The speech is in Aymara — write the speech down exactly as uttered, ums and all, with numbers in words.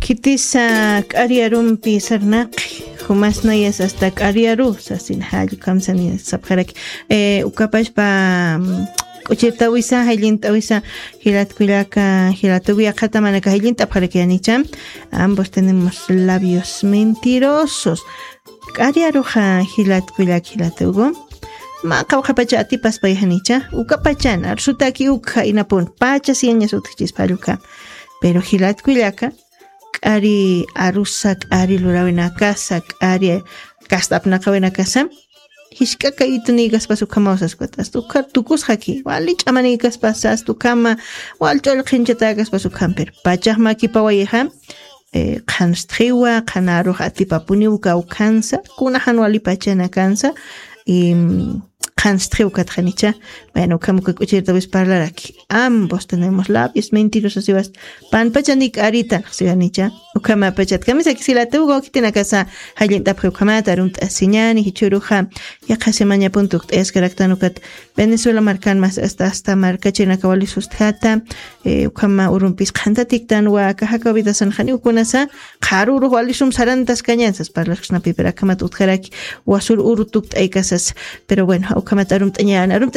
Kitisa k'ari arumpi sarnaqi, jumasnayas hasta k'ari aru sasin jall kamsani sapxaraki. Eh, ukapashpa, mm, k'uchirtawisa, jallint'awisa, jilatkullaka, jilatugu yaqhata manaka jallint'apxaraki yanicha. Ambos tenemos labios mentirosos. K'ari aruxa jilatkullak jilatugu. Ma qawqhapacha atipaspa yanicha. Ukapachan, arsutaki ukja inapun. Pacha siyañas utjchispa alluka. Pero jilatkullaka, k'ari arusa, k'ari lurawinakasa, k'ari kast'apnaqawinakasa, jisk'a kaytunïkaspas ukhamaw saskwat, hasta ukhar tukusxaki, wali ch'amanïkaspas, hasta ukhama, wal ch'ull qhinchatäkaspas ukham, pero pachax makipawayixa, eh, qhanstxiwa, qhan arux atipapuniw kawkhansa, kuna jan wali pachanakansa, y, mm, qhanstxiw katxanicha. Bueno, ukham uka k'uchirtawis parlaraki. Ambos tenemos labios mentirosas siwas. Panpachani k'aritan siwanicha. Ukhamapachat kamisaki jilatugu, khitinakasa jallint'apxi ukhamata arumt'asiñani, jichhüruxa yaqha semañapun tukt'ayaskaraktan ukat Venezuela markan mas hasta, hasta markachirinaka wali sustjata, eh, ukhama urumpis qhantatiktan wa akaxa kawidasan janiw kunasa, qharürux walisum sarantaskañan sas parlasksnapi, pero akhamat utjaraki wasür uru tukt'aykasas. Pero bueno, ukhamat arumt'añan, arumt'as